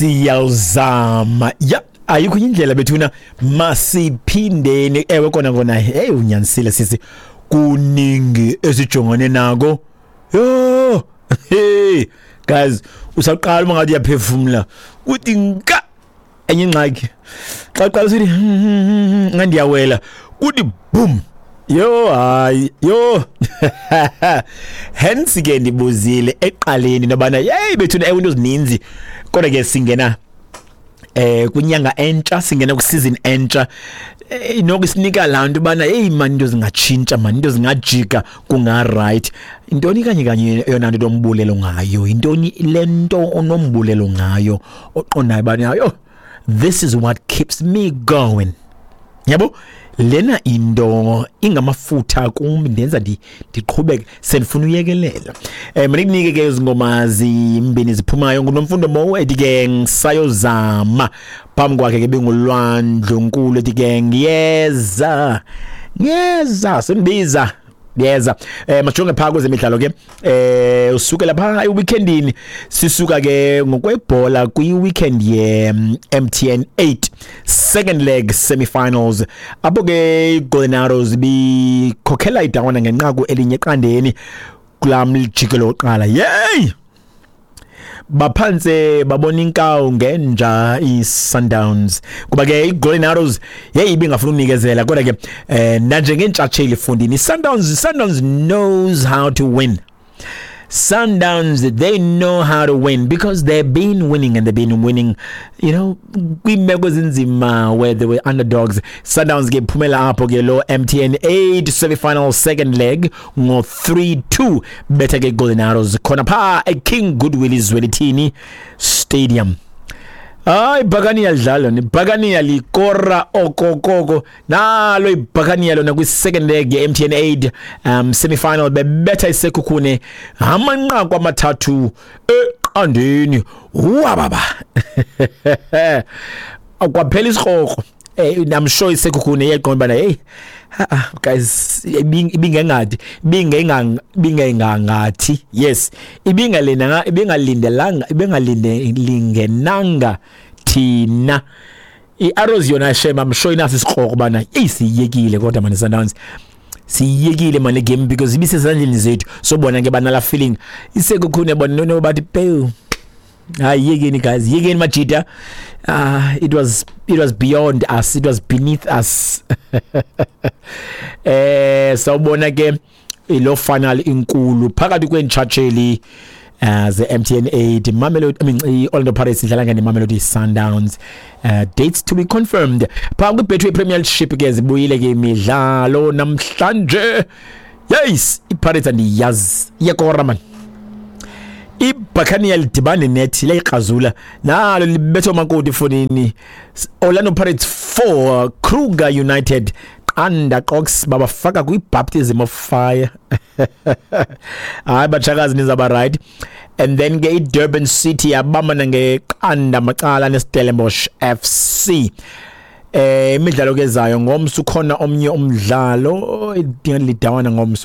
Siyawuzama ya, ayikho indlela bethuna, masiphindeni. Ewe kona kona, hey, unyanisile sisi, kuningi esijongane nako. Yho, hey guys, usaqala uma ngathi uyaphefumula uthi nka enye ingxaki. Xa uqala usithi ngandiyawela, uthi boom. Yho, hayi, yho. Hence ke ndibuzile eqaleni nobana yeyi bethuna, ewe, into zininzi, kodwa ke singena kwinyanga entsha, singena kwi-season entsha. Noko isinika laa nto ubana heyi mani, into zingatshintsha mani, into zingajika, kunga-right. Intoni kanye kanye eyona nto onombulelo ngayo? Yintoni le nto onombulelo ngayo oqondayo ubana yho, this is what keeps me going? Yabo lena into ingamafutha kum, ndenza ndiqhubeke, sendifuna uyekelela. Mnikunike ke izingoma zimbini ziphumayo. NguNomfundo Mo ethi ke "Ngisayozama", phambi kwakhe ke benguLwandlu Nkulu ethi ke "Ngiyeza, ngiyeza, sendibiza yeza". Majonge phaa kwezemidlalo ke. Usukela phaa eweekendini, sisuka ke ngokwebhola kwi-weekend ye MTN 8 second leg semifinals, apho ke iGolden Arrows bikhokhela idawana ngenqaku 1-0 kulaa mjikelo wokuqala. Yeyi, baphantse babona inkawu ngenja i-Sundowns, kuba ke i-Golden Arrows yeyi ibingafuni unikezela. Kodwa ke nanjengeentshatsheli fundini, i-Sundowns knows how to win. Sundowns, they know how to win because they've been winning, and they've been winning kwiimeko ezinzima where they were underdogs. Sundowns ke phumela apho ke lo MTN 8 semi-final second leg ngo 3-2, betha ke Golden Arrows khona pha eKing Goodwill Zwelithini Stadium. Hayi, ibhakaniya lidlala, ibhakaniya likora okokoko nalo ibhakaniya lona kwi-second leg ye-MTN 8 semi-final, bebetha iSekhukhune amanqaku 3-0. Wababa kwaphela isikrokro. I'm sure iSekhukhune iyeqonda bana hey, ah guys, ibingengathi ibingengangathi, yes, ibingalinanga, ibingalindelanga, ibingalindenanga thina. I-Arrows yona, shame, I'm sure inaso isikrokro bana siyekile, kodwa manje Sundowns siyekile manje game because ibisezandleni zethu. Sobona ke banala feeling iSekhukhune bona no bathi pew, hayi, yekeni guys, yekeni majita. It was beyond us, it was beneath us. Sawubona ke ilo final inkulu phakathi kweentshatsheli ze MTN 8, Mamelodi, I mean iOrlando Pirates idlala ngene Mamelodi Sundowns. Dates to be confirmed. Pha kwi Betway Premiership ke zibuyile ke imidlalo namhlanje. Yes, iPirates andiyazi, iyakora man. IBuccaneer lidibane nethi liyayikrazula nalo, libetha umakoti fonini. Orlando Pirates 4, Kruger United 0. Qox babafaka kwi-baptism of fire. Hayi batshakazi, nizaba right. And then ke iDurban City yabambana nge-0 macala neStellenbosch FC. Imidlalo kezayo ngomso, ukhona omnye umdlalo idinga lidawana ngomso.